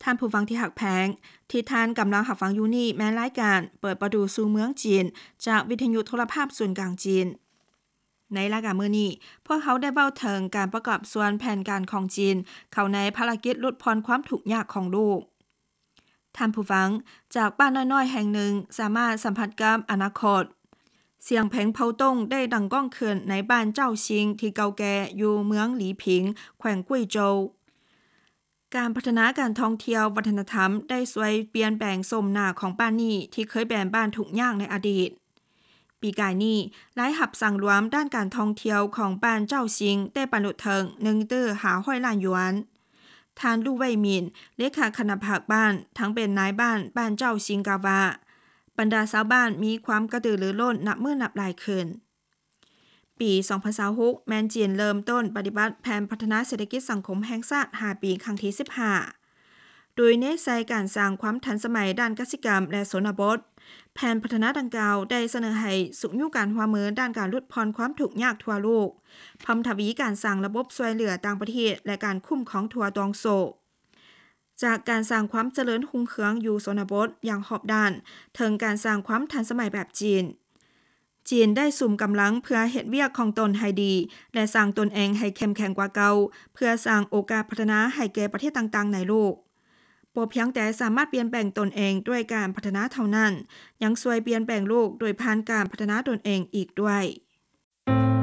ທ່ານຜູ້ຟັງທີ່ຮັກແພງ, ທີ່ທ່ານກຳລັງຮັບຟັງຢູ່ນີ້ແມ່ນລາຍການເປີດປະຕູສູ່ເມືອງຈີນ ຈາກວິທະຍຸໂທລະພາບສູນກາງຈີນ. ໃນລາຍການມື້ນີ້, ພວກເຮົາໄດ້ເວົ້າເຖິງການປະກອບສ່ວນແຜນການຂອງຈີນເຂົ້າໃນພາລະກິດຫຼຸດຜ່ອນຄວາມທຸກຍາກຂອງໂລກ. ທ່ານຜູ້ຟັງ, ຈາກບ້ານນ້ອຍໆແຫ່ງໜຶ່ງ ສາມາດສຳຜັດກັບອະນາຄົດ. ສຽງເພງເຜົ່າຕົງໄດ້ດັງກ້ອງຂຶ້ນໃນບ້ານເຈົ້າຊິງທີ່ເກົ່າແກ່ຢູ່ເມືອງຫຼີຜິງ, ແຂວງກຸຍໂຈວ. ການພັດທະນາການທ່ອງທ່ຽວວັດທະນະທຳໄດ້ຊ່ວຍປ່ຽນແປງໂສມໜ້າຂອງບ້ານນີ້ ທີ່ເຄີຍແມ່ນບ້ານທຸກຍາກໃນອະດີດ. ປີກາຍນີ້, ລາຍຮັບສັງລວມດ້ານການທ່ອງທ່ຽວຂອງບ້ານເຈົ້າຊິງໄດ້ບັນລຸເຖິງໜຶ່ງຕື້ຫ້າຮ້ອຍລ້ານຢວນ. ທ່ານ ລູ່ ໄວໝິນ, ເລຂາຄະນະພັກບ້ານ, ທັງເປັນນາຍບ້ານບ້ານເຈົ້າຊິງ ກ່າວວ່າ, ບັນດາຊາວບ້ານມີຄວາມກະຕືລືລົ້ນນັບມື້ນັບຫຼາຍຂຶ້ນ. ປີສອງພັນຊາວຫົກ ແມ່ນຈີນເລີ່ມຕົ້ນປະຕິບັດແຜນພັດທະນາເສດຖະກິດສັງຄົມແຫ່ງຊາດຫ້າປີ ຄັ້ງທີສິບຫ້າ ໂດຍເນັ້ນໃສ່ການສ້າງຄວາມທັນສະໄໝດ້ານກະສິກຳ ແລະ ຊົນນະບົດ. ແຜນພັດທະນາດັ່ງກ່າວໄດ້ສະເໜີໃຫ້ຊຸກຍູ້ການຮ່ວມມືດ້ານການຫຼຸດຜ່ອນຄວາມທຸກຍາກທົ່ວໂລກ, ເພີ່ມທະວີການສ້າງລະບົບຊ່ວຍເຫຼືອຕ່າງປະເທດ ແລະ ການຄຸ້ມຄອງທົ່ວຕ່ວງໂສ້. ຈາກການສ້າງຄວາມຈະເລີນຮຸ່ງເຮືອງຢູ່ຊົນນະບົດຢ່າງຮອບດ້ານ ເຖິງການສ້າງຄວາມທັນສະໄໝແບບຈີນ. ຈີນໄດ້ສຸມກຳລັງເພື່ອເຮັດວຽກຂອງຕົນໃຫ້ດີ ແລະ ສ້າງຕົນເອງໃຫ້ເຂັ້ມແຂງກວ່າເກົ່າ ເພື່ອສ້າງໂອກາດພັດທະນາໃຫ້ແກ່ປະເທດຕ່າງໆໃນໂລກ. ບໍ່ພຽງແຕ່ສາມາດປ່ຽນແປງຕົນເອງດ້ວຍການພັດທະນາເທົ່ານັ້ນ, ຍັງຊ່ວຍປ່ຽນແປງໂລກໂດຍຜ່ານການພັດທະນາຕົນເອງອີກດ້ວຍ.